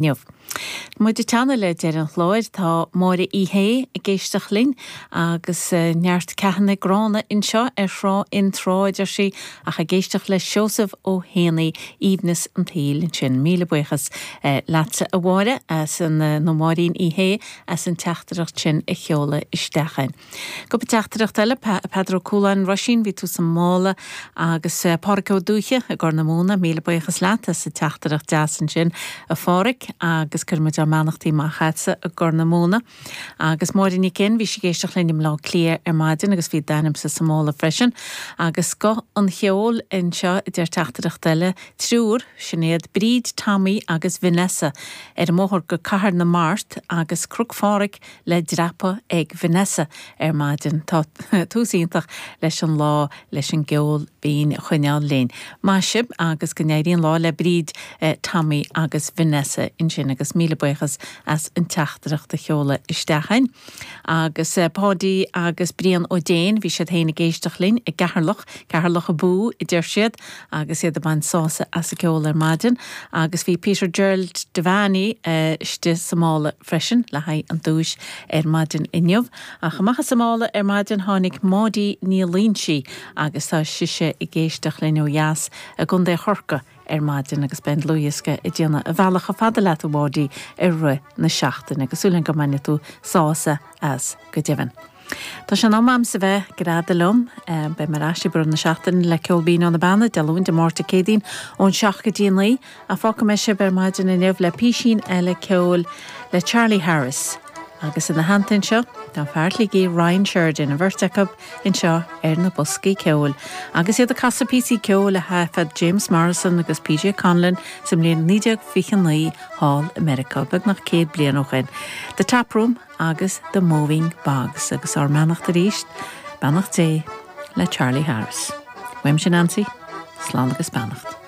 Inniu. Muid ag teannadh le deireadh an chláir, tá Máire Uí Shé ag éisteacht linn agus neart ceathanna gránna anseo ar Thrá Fhinn Trá, a deir sí, ach ag éisteacht le Seosamh Ó hÉanaí, aoibhneas an tsaoil ansin. Míle buíochas leatsa a Mháire as an, nó Máirín Uí Shé as an teachtaireacht sin a sheoladh isteach chugainn. Cúpla teachtaireacht eile, Peadar Ó Cualáin, Roisín, bhí tú sa mála agus Pádhraic Ó Dúiche i gCorr na Móna, míle buíochas leat as an teachtaireacht deas ansin a Phádhraic agus cuireann muid ár mbeannachtaí amach agatsa i gCorr na Móna. Agus Máire Nic Fhinn, bhí sí ag éisteacht linn i mBleá Cliath ar maidin agus bhí d'ainmse sa mála freisin. Agus scoth an cheoil anseo a deir teachtaireacht eile, triúr, Sinéad, Bríd, Tommy agus Vanessa ar an mbóthar go Cathair na Mart agus Cnoc Phádraig le dreapadh ag Vanessa ar maidin. Tá tús iontach leis an lá leis an gceol binn a choinneáil linn. Maith sibh agus go n-éirí an lá le Bríd, Tommy agus Vanessa ansin agus míle buíochas as an teachtaireacht a sheoladh isteach chugainn. Agus Páidí agus Brian Ó Déin, bhí siad féin ag éisteacht linn i gCeatharlach, Ceatharlach abú a deir siad agus iad ag baint sásamh as an gceol ar maidin. Agus bhí Peter Gerald Devaney istigh sa mála freisin le haghaidh an duais ar maidin inniu. Ach amach as an mála ar maidin tháinig Maudie Ní Loingsigh agus tá sise ag éisteacht linn ó dheas i gContae Chorcaí ar maidin agus beidh an dlúthdhiosca ag déanamh a bhealach chomh fada leat a Mhaudie i rith na seachtaine agus súil agam go mbainfidh tú sásamh as go deimhin. Tá sé in am a'msa bheith ag greadadh liom. Beidh mé ar ais i rith na seachtaine le Ceol Binn ó na Beanna, Dé Luain, Dé Máirt, Dé Céadaoin, ón 7 go dtí a 9. Ach fágfaidh mé sibh ar maidin inniu le písín eile ceoil le Charlie Harris. Agus ina theannta anseo, tá fear Shligigh Ryan Sheridan, an bheirt acu anseo ar na boscaí ceoil. Agus iad ag casadh píosaí ceoil a thaifead James Morrison agus PJ Conlon sa mbliain 1929 thall i Meiriceá, beagnach 100 bliain ó shin. The Tap Room. agus The Moving Bogs agus ár mbeannacht arís, beannacht Dé le Charlie Harris. Uaimse Nancy, slán agus beannacht.